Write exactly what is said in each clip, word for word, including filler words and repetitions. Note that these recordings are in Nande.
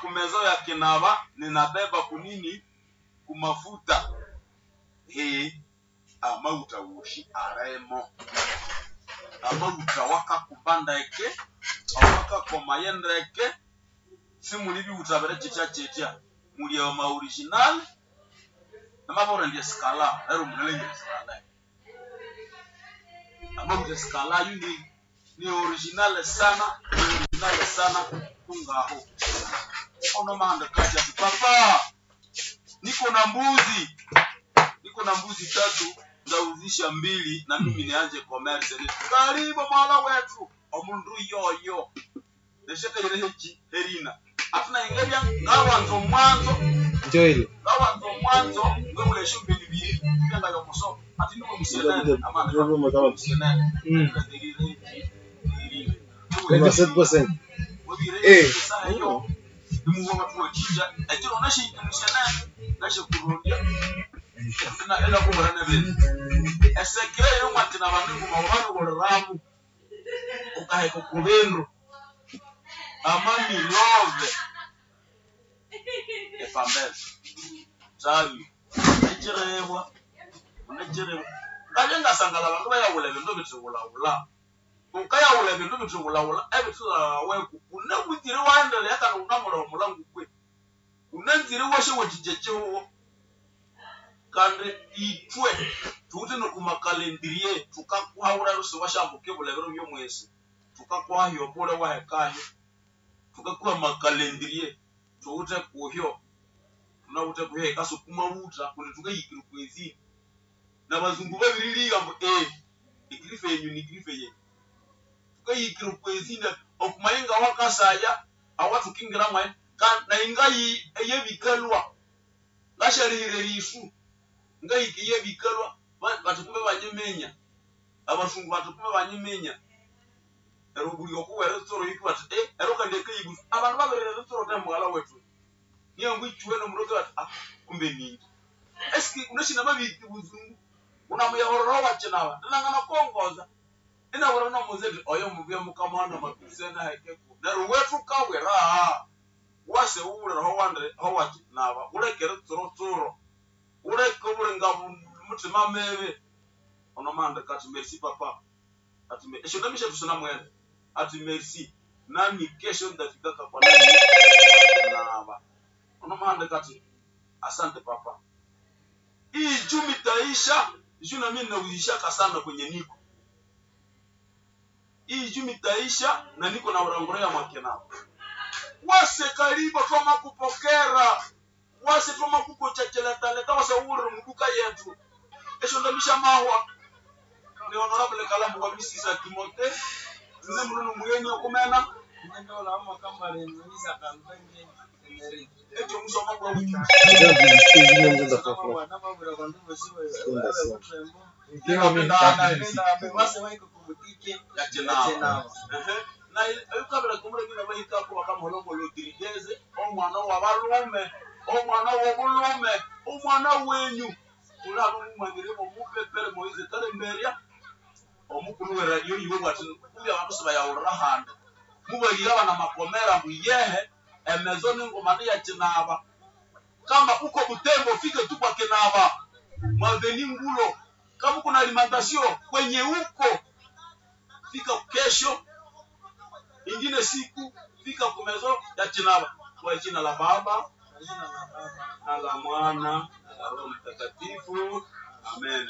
Kumezo ya kinaba ninabeba kunini kumafuta he amauta woshi aremo amauta wakakuba ndeke awakakomaye ndeke simuli biwuta bire kyitya kyitya muli ama original namabora ndi skala ero munalengera skala amauta skala yu ni ni original sana ni original sana kungaho ono mahanda kaja ati papa niko na mbuzi niko na mbuzi tatu ndauzisha mbili na mimi nianje commerce. Karibu mwala wetu omundu yoyo neshetegerehechi herina atuna ingebya ngawanzo mwanzo Joel ngawanzo mwanzo ngwebulesho mbili bili byanga yomuso ati niwe musienene amana musienene Mm. herina sept percent. Eh. nimuwa batuwakija ekiro nashe musienene nashe kurondya ela kubura nebintu esekere yomwatina bandu nguma babiboleramu ukaheka kubindu amamilove epambele tabi nekirebwa nekirebwa ngabye ngasangala abandu bayawula ebindu bithiwulawula ukayawula ebindu bithiwulawula ebithilaweku unabutire waendelea kandi unamulaba mulangu kwe unanzire washe wachija chihuwo kandi itwe tuwuthe nokumakalendriye tukakuhawula lusi washambuke bulebero byomwesi tukakuhahyo bule wahekahyo tukakuha makalendriye tuwuthe kuhyo tunawuthe kuhyo ikasukuma wuta kundi tukayikire kwezini na bazungu babiriliga mbu eh igrife yenyu ni grife yenyu tukayikire kwezini okumayinga wakasaya awatukingira mwaye na ingayi eyebikalwa ngasharihire lisu ngayiki yebikalwa batukume banyimenya abasungu batukume banyimenya ero buli okuwera tsoro yiki bati eh ero kandi ekayibu abantu babirire tsoro temwala wetu niyo ngwichuwe nomuroke bati ah kumbe ningi eski unashina mabiki buzungu unamuyahorora wachinaba ndinangana kongoza inawura nomuzeti oyo mubye mukamwana matusena hekeko nero wetu kawera wase uwulira ho wande ho wachinaba ulekere tsoro tsoro uleke obulenga mutima mebe ono mande kati merci papa ati me esho ndamisha tusina mwene ati merci nami kesho ndafikaka kwa nani naba ono mande kati asante papa hii jumi taisha juu na mimi nauzishaka sana kwenye niko hii jumi taisha na niko na urangurea mwakenao wase karibu twama kupokera wase twama kukochacheletaleta wase uwulire muduka yetu esho ndamisha mahwa ni honorable Kalambo wa misisa Timote nze mulunu muyenyi okumena ekyo musoma kwa wiki ya chinaba na ukabira kumurengina bahikako bakamuholongo Rodriguez omwana wabalume omwana wobulume omwana wenyu ulaba mumanyiremo mupepere Moise Kalemberia omukulu we radio yiwe bwati kumbi abantu sibayawulira handi mubalira bana makomera mbuyehe emezo ningoma ya chinaba kama uko Butembo fike tu kwa Kinaba mwaveni Ngulo kama kuna alimentation kwenye uko fika kesho ingine siku fika kumezo ya Chinaba kwa jina la Baba na la Mwana na la Roho Mtakatifu amen.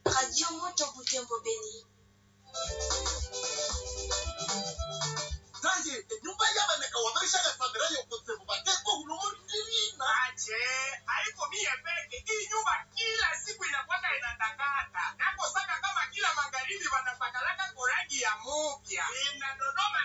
Radio Moto Butembo Beni. Ache, haiko mie peke. Hii nyumba kila siku inakwaka inatakata. Nakosaka kama kila magharibi wanapakalaka korangi ya mupya. Inadodoma